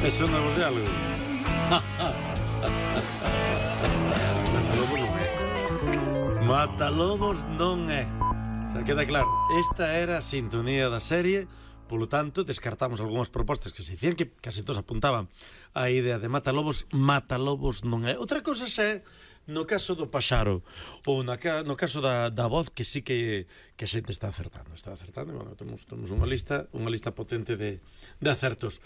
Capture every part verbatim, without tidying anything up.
Eso non é algo. Matalobos non é. Xa queda claro. Esta era a sintonía da serie. Polo tanto, descartamos algunhas propostas que se dicían que casi todos apuntaban a idea de Matalobos. Matalobos non é. Outra cosa é no caso do paxaro ou na, no caso da, da voz, que sí que, que a xente está acertando. Está acertando, bueno, temos, temos unha lista unha lista potente de, de acertos.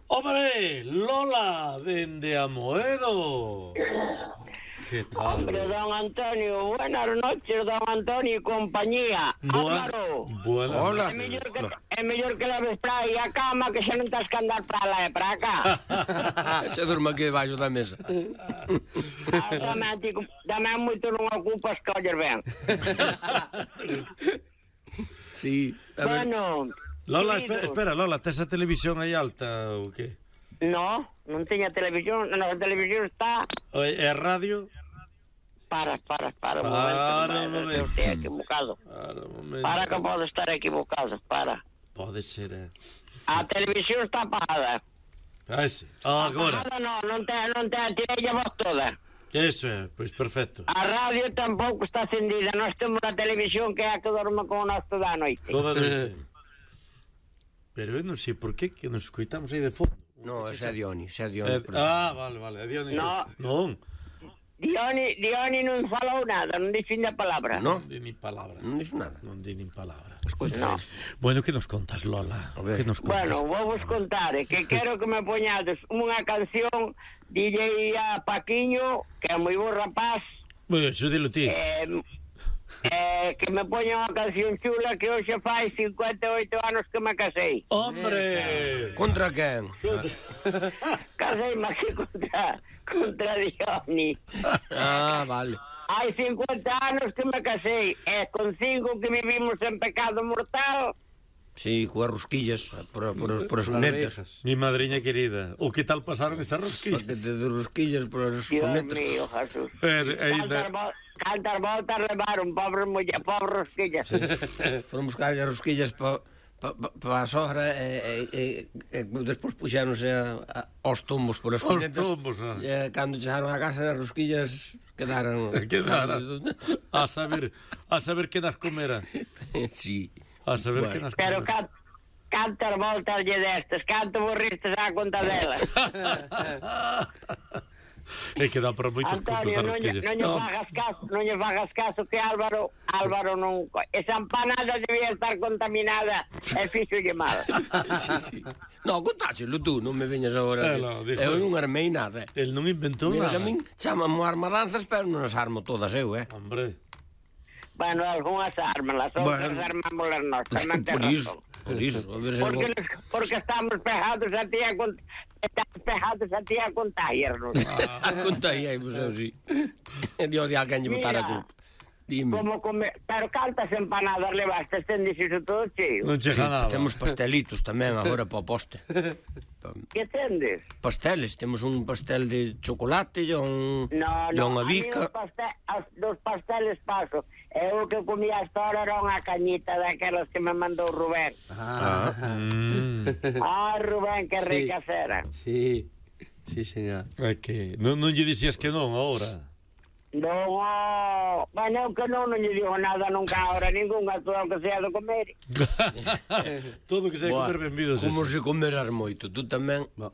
¡Hombre! ¡Lola! ¡Dende Amoedo! ¿Qué tal? Hombre, don Antonio, buenas noches, don Antonio y compañía. Buen, Álvaro. Buenas Hola. É mellor que, é mellor que leves para aí a cama, que xa non tens que andar para lá e para cá. Se durma aquí debaixo da mesa. Ah, tamén, ti, tamén moito non ocupas que olles ben. Sí, a ver. Bueno, Lola, queridos, espera, espera, Lola, tes a televisión aí alta ou que? No, non teña televisión, na televisión está... E a radio? Para, para, para, un Para momento, un que momento. estou equivocado. Para un momento. Para que pode estar equivocado, para. Pode ser, eh? A televisión está apagada. Ah, ese. Ah, agora. Apagada non, non te, non te, tirei a voz toda. Eso é, pois perfecto. A radio tampouco está encendida. Nós temos a televisión que é a que dorme con o noso da noite. Toda noite. Pero eu non sei por que que nos escoitamos aí de fondo. No, ese é Dioni, ese é Eh, Dioni. ah, vale, vale, é Dioni. No. Non. Dioni, Dioni non falou nada, non dixo a palabra. No, Non di nin palabra. non dixo nada. Non di nin palabra. Escoita, No. Bueno, que nos contas, Lola? A ver. Que nos contas? Bueno, vou vos contar, eh, que quero que me poñades unha canción, dille a Paquiño, que é moi bo rapaz, Bueno, iso dilo ti. eh, eh, que me poña unha canción chula, que hoxe fai cincuenta e oito anos que me casei. ¡Hombre! Contra quen? Casei máis que contra, contra Dioni. Ah, vale. Hai cincuenta anos que me casei, e con cinco que vivimos en pecado mortal. Sí, coas rosquillas, por, por, por as cometas. Mi madriña querida. O que tal pasaron esas rosquillas? Paquete de rosquillas por as Dios cometas. mío, Jesús. Eh, eh, Cantar, vo cantar voltas levaron, pobre muller, pobre rosquillas. Sí. Foron buscar as rosquillas para pa, pa, pa a sogra e, e, e, e despois puxéronse a, a, aos tombos por as Aos cometas. tombos, ah. E cando chegaron a casa as rosquillas quedaron... Quedaron. A saber, a saber que nas comera. Sí. A saber Bueno. que nas Pero comera. can, cantar voltas lle destes, canto borristes á conta dela. É que dá para moitos contos Antonio, das non lle, rosquillas. non lle No. fagas caso, non lle fagas caso que Álvaro, Álvaro non... Esa empanada debía estar contaminada e fixolle mal. Sí, sí. No, contáchelo tú, non me veñas agora. Eh, no, que- dijo eu él. non armei nada. El non inventou Mira, nada. que a min chamamo armadanzas, pero non as armo todas eu, eh. Hombre. Bueno, algunhas armas, outras Bueno. armámoslas nós, tamén ten Por iso, razón. por iso. A ver se Porque, algo- les- porque estamos pegados a ti a cont... estamos pegados a ti a contagiarnos. Conta aí, aí, pois eu sí. Dios de alguén lle botar a Mira. culpa. Dime. Como come... Pero cantas empanadas levaste, tendes iso todo cheo. Non chega nada. Temos pastelitos tamén agora para o poste. Que tendes? Pasteles, temos un pastel de chocolate e un, No, e no, unha a mí bica. os, pastel, os, dos pasteles paso. E o que comía hasta ahora era unha cañita daquelas que me mandou Rubén. Ah. Mm. Ah, Rubén, que Sí. ricas eran. Sí, sí, señor. É que non, non lle dixías que non agora. Non, oh, bueno, que non, non lle digo nada nunca ahora, ninguna, todo o que sea de comer. Todo que se hai que Buah, comer benvidos. como ese. se comeras moito, tú tamén. Bo,